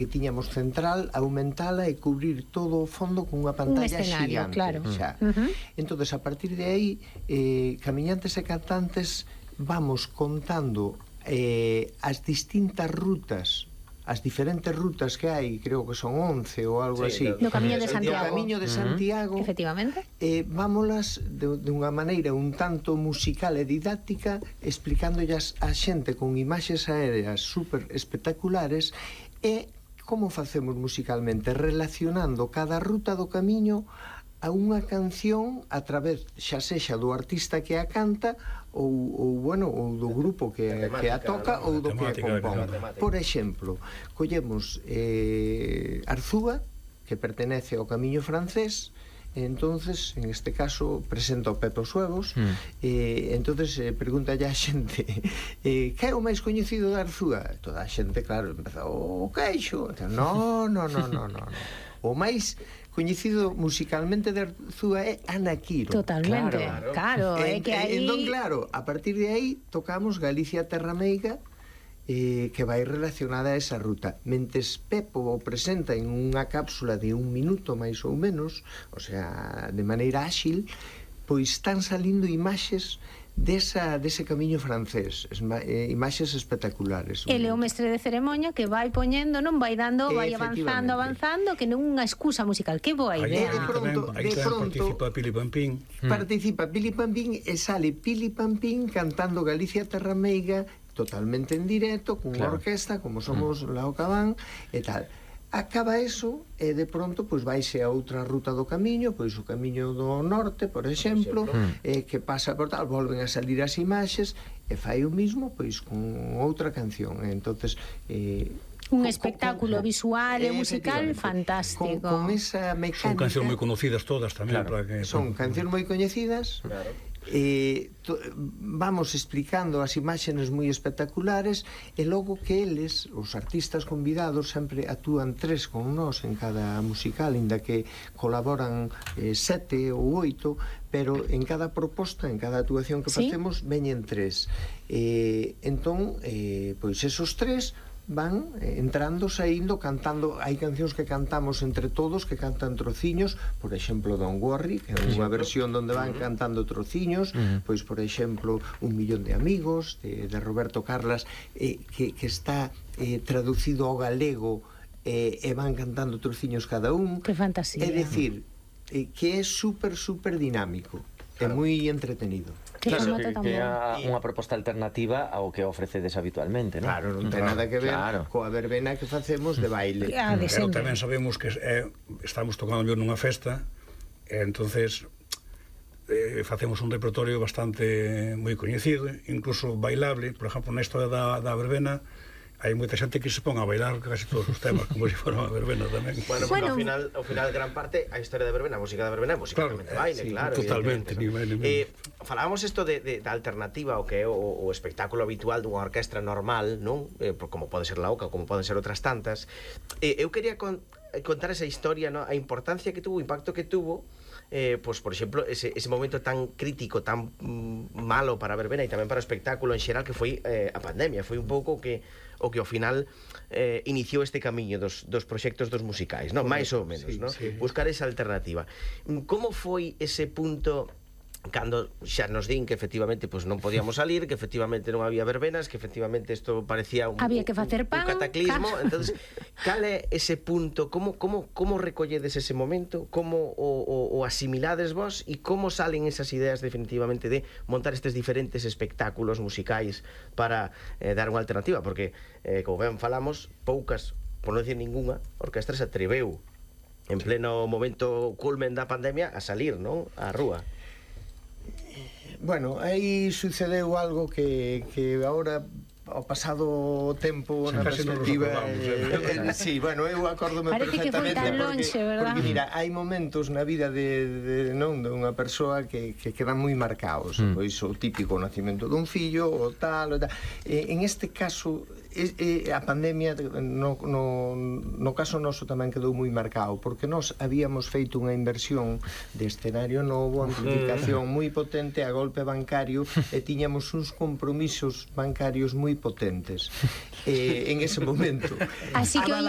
que tiñamos central, aumentala e cubrir todo o fondo con unha pantalla xigante, claro. Entonces, a partir de aí, camiñantes e cantantes vamos contando as distintas rutas, as diferentes rutas que hai, creo que son 11 ou algo así, do Camiño de Santiago. Do Camiño de Santiago, efectivamente. Vámolas de unha maneira un tanto musical e didáctica, explicándollas a xente con imaxes aéreas super espectaculares e como facemos musicalmente, relacionando cada ruta do camiño a unha canción a través xa sexa do artista que a canta ou do grupo que a toca ou do que a compón. Por exemplo, collemos Arzúa, que pertenece ao camiño francés. Entonces, en este caso, presenta o Pepe os Huevos. Entonces, pregunta a xente que é o máis coñecido da Arzúa? Toda a xente, claro, empeza o queixo. No. O máis coñecido musicalmente de Arzúa é Ana Quiro. Totalmente, claro. Entón, claro, a partir de aí tocamos Galicia Terra Meiga, que vai relacionada a esa ruta. Mentes Pepo o presenta en unha cápsula de 1 minuto máis ou menos, o sea, de maneira áxil, pois están salindo imaxes dese camiño francés, imaxes espectaculares. Ele é o mestre de ceremonia que vai poñendo, non vai dando, vai avanzando, que non unha excusa musical. Que boa idea. Aí participa Pili Pampín. Participa Pili Pampín e sale Pili Pampín cantando Galicia Terra Meiga totalmente en directo, cunha orquesta, como somos Lao Cabán e tal. Acaba eso e de pronto pois vaise a outra ruta do camiño, pois o camiño do norte, por exemplo, que pasa por tal, volven a salir as imaxes e fai o mismo pois con outra canción. Entonces, un espectáculo visual e musical fantástico. Con esa mecánica. Son cancións moi conocidas todas tamén. Son cancións moi coñecidas. Vamos explicando as imaxes moi espectaculares e logo que eles, os artistas convidados, sempre actúan 3 con nós en cada musical, inda que colaboran 7 ou 8, pero en cada proposta, en cada actuación que facemos, veñen 3. Entón, pois esos 3 van entrando, saindo, cantando. Hai cancións que cantamos entre todos, que cantan trociños, por exemplo, Don't Worry, que é unha versión onde van cantando trociños, pois, por exemplo, Un millón de amigos, de Roberto Carlas, que está traducido ao galego, e van cantando trociños cada un. Que fantasía. É dicir, que é super dinámico, é moi entretenido. Claro, que é unha proposta alternativa ao que ofrecedes habitualmente, non? Claro, non ten nada que ver coa verbena que facemos de baile. Pero tamén sabemos que estamos tocando nunha festa, e entonces facemos un repertorio bastante moi coñecido, incluso bailable. Por exemplo, na historia da verbena hai moita xente que se pon a bailar casi todos os temas como se fora unha verbena tamén. Bueno, ao final gran parte a historia da verbena, a música da verbena é musicalmente baile, claro. Totalmente. Falábamos isto da alternativa ao que é o espectáculo habitual dunha orquestra normal, non? Como pode ser la Oca, como poden ser outras tantas. Eu quería contar esa historia, a importancia que tuvo, o impacto que tuvo, pois, por exemplo, ese momento tan crítico, tan malo para a verbena e tamén para o espectáculo en xeral, que foi a pandemia. Foi un pouco o que ao final iniciou este camiño dos proxectos dos musicais, non? Máis ou menos, non? Buscar esa alternativa. Como foi ese punto cando xa nos din que efectivamente pois non podíamos salir, que efectivamente non había verbenas, que efectivamente isto parecía había que facer pan, un cataclismo? Entonces, cal é ese punto? Como recolledes ese momento? Como o asimilades vos? E como salen esas ideas definitivamente de montar estes diferentes espectáculos musicais para dar unha alternativa? Porque, como ben falamos, poucas, por non dicir ningunha, orquestra se atreveu en pleno momento culmen da pandemia a salir, non? Á rúa. Bueno, aí sucedeu algo que agora ao pasado tempo na perspectiva sí, bueno, eu acórdome perfectamente porque mira, hai momentos na vida de unha persoa que quedan moi marcados, pois o típico nacimento dun fillo, o tal, en este caso a pandemia no caso noso tamén quedou moi marcado, porque nós habíamos feito unha inversión de escenario novo, amplificación moi potente a golpe bancario, e tiñamos uns compromisos bancarios moi potentes en ese momento. Así que o